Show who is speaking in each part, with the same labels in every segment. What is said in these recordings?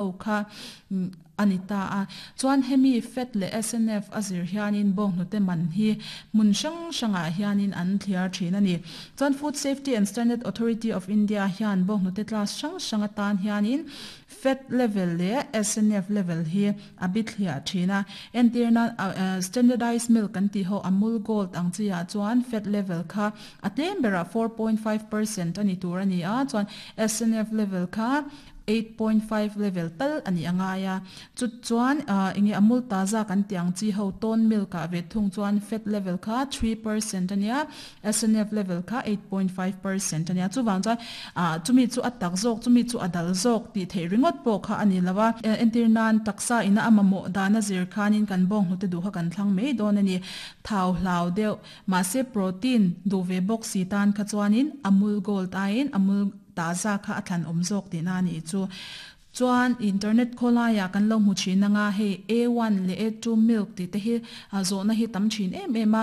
Speaker 1: Ho kha a ni ta a. Chuan hemi fed leh SNF a zir hianin bawnghnute man hi hmun hrang hrangah hianin an thliar thin a ni. Chuan Food Safety and Standard Authority of India hian bawnghnute class hrang hrang atan hianin fed level leh SNF level hi a bi thliah thin a. Entirna standardized milk kan tih ho Amul Gold ang chi ah chuan fed level kha a tlem berah 4.5% a ni tur a ni a, chuan SNF level kha 8.5 level tal a nih a ngai a, chu chuan enge Amul Taza kan tih ang chi ho tone milk ah ve thung chuan fat level kha 3% a nia, SNF level kha 8.5% a nia, chuvang chuan chumi chu a tak zawk chumi chu a dal zawk tih theih ringawt pawh kha a ni lo a, entir nan taksa ina a mamawh dan a zir khanin kan bawng hnute duh kha kan thlang mai dawn a ni, thau hlau deuh mahse protein duh ve bawk si tan kha chuanin Amul Gold aiin Amul Taza kha a thlan awm zawk tihna a nih chu. Chuan internet khawlaiah kan lo hmu thin anga hei A one leh A two milk tih te hi zawhna hi tam thin em em a,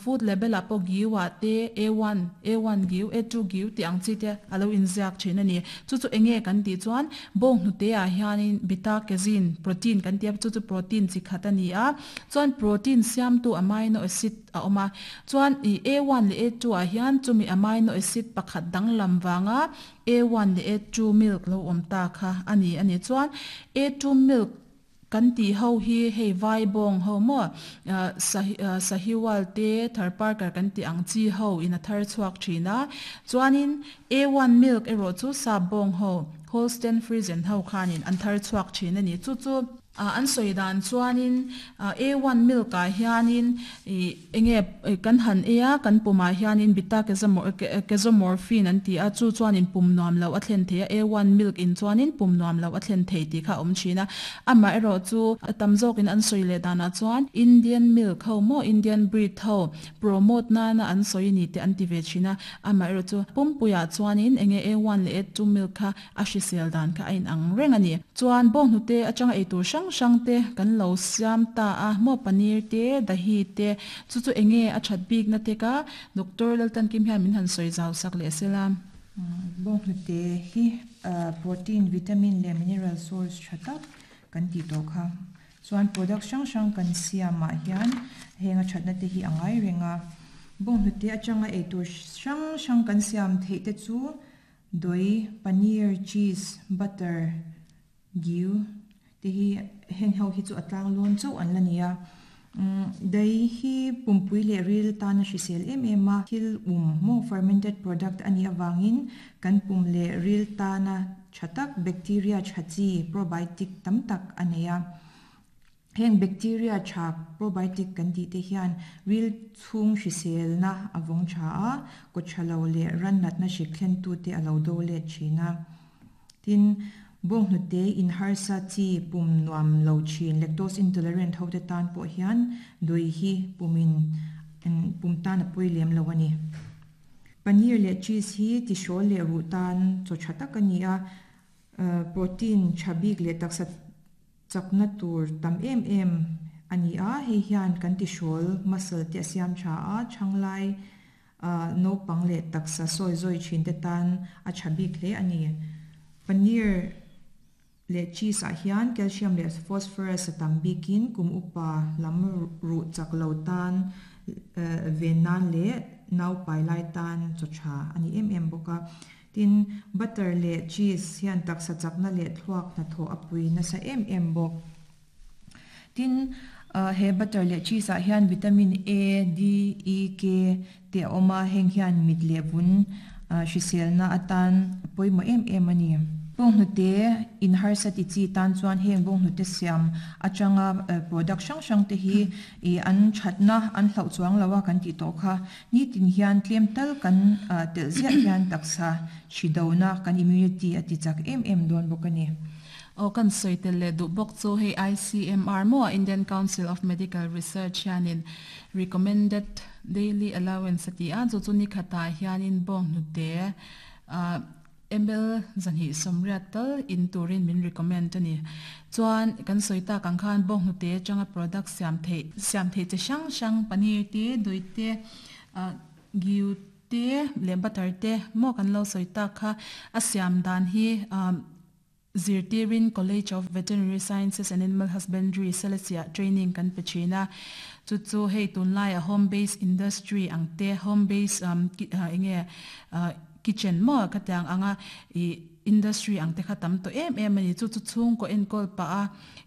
Speaker 1: food label ah pawh giu ah te A one, A one giu, A two giu tih ang chi te a lo inziak thin a ni. Chu chu enge kan tih chuan bawng hnute ah hianin beta casein protein kan tih a, chu chu protein chi khat a ni a, chuan protein siamtu amino acid a awm a. Chuan i A one leh A two ah hian chumi amino acid pakhat danglam vanga A one leh A two milk lo awm ta kha a ni a ni. Chuan A two milk kan tih ho hi hei vai bawng ho maw Sahiwal te Tharparkar kan tih ang chi ho in a thar chhuak thin a. Chuanin A one milk erawh chu sap bawng ho Holstein Friesian ho khanin an thar chhuak thin a ni. Chu chu. An sawi dan chuanin A one milk ah hianin ih enge kan han ei a, kan pumah hianin beta casomorphine an ti a, chu chuanin pum nuam loh a thlen thei a, A one milk in chuanin pum nuam loh a thlen thei tih kha a awm thin a. Amaherawh chu a tam zawkin an sawi leh danah chuan Indian milk ho maw Indian breed ho promote nana an sawi ni te an ti ve thin a, amaherawh chu pumpuiah chuanin enge A one leh A two milk kha A hrisel dan kha a inang reng a ni. Chuan bawnghnute atanga eitur hrang hrang te kan lo siam ta a, maw paneer te, dahi te, chu chu enge a that bikna te ka Doctor Laltankim hian min han sawi zau sak leh sela.
Speaker 2: Bawnghnute hi protein, vitamin leh mineral source tha tak kan tih tawh kha. Chuan product hrang hrang kan siamah hian heng a thatna te hi a ngai reng a. Bawnghnute atanga eitur hrang hrang kan siam theih te chu Doi, paneer, cheese, butter, giu te hi heng ho hi chu a tlang lawn chauh an la ni a. Dai hi pumpui leh ril tana hrisel em em a, thil um maw fermented product a nih avangin kan pum leh ril tana tha tak bacteria tha chi probiotic tam tak a nei a. Heng bacteria tha probiotic kan tih te hian ril chhung hriselna a vawng tha a, kaw tha lo leh ran natna hrik thlentute a lo do let thin a. Tin, bawnghnute in harsa chi pum nuam lo thin lactose intolerant ho te tan pawh hian dui hi pumin pum tan a pawi lem lo a ni. Paneer leh cheese hi tihrawl leh ruh tan chaw tha tak a ni a, protein tha bik leh taksa Chakna tur tam em em a ni a, hei hian kan tihrawl muscle te a siam tha a, thanglai naupang leh taksa sawi zawi thin te tan a tha bik hle a ni. Paneer leh cheese ah hian calcium leh phosphorus a tam bikin kum upa lam ruh chak lo tan ven nan leh naupai lai tan chaw tha a ni em em bawk a. Tin, butter leh cheese hian taksa chakna leh thluak hnathawh a pui nasa em em bawk. Tin, he butter leh cheese ah hian vitamin A, D, E, K te a awm a, heng hian mit leh vun hriselna atan a pawimawh em em a ni. Bawnghnute in harsa ti chi tan chuan heng bawnghnute siam atanga product hrang hrang te hi an thatna an hlauh chuang lo a kan tih tawh kha. Nitin hian tlem tal kan telh ziah hian taksa hri dona kan immunity a ti chak em em dawn bawk a ni.
Speaker 1: Aw kan sawi tel leh duh bawk chu hei ICMR maw Indian Council of Medical Research hianin recommended daily allowance a ti a, chu chu nikhatah hianin bawnghnute Ml 280 tal in turin min recommend a ni. Chuan kan sawi tak ang khan bawnghnute atanga product siam theih siam theih chi hrang hrang paneer te, dui te, giu te leh butter te maw kan lo sawi tak kha a siam dan hi. Zirtirin College of Veterinary Sciences and Animal Husbandry, Selesih-ah training kan pe thin a. Chu chu hei tunlaiah home base industry ang te, home base enge kitchen maw ka tiang anga ih industry ang te kha tam tawh em em a ni. Chu chu chhungkaw enkawl pah a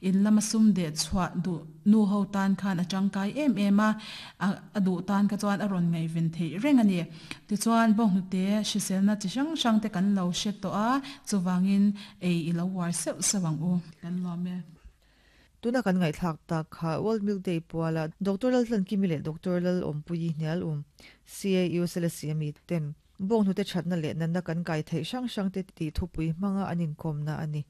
Speaker 1: in lama sum deh chhuah duh nu ho tan khan a tangkai em em a, a duh tan kha chuan a rawn ngaihven theih reng a ni. Tichuan bawnghnute hriselna chi hrang hrang te kan lo hre tawh a, chuvangin ei i lo uar seuh seuh ang u. Kan lawm e.
Speaker 3: Tuna kan ngaihthlak tak kha World Milk Day puala Doctor Laltlankimi leh Doctor Lalawmpuii Hnialum, CAU Selesih-a miten bawnghnute thatna leh natna kan kai theih hrang hrang te tih thupui hmanga an inkawmna a ni.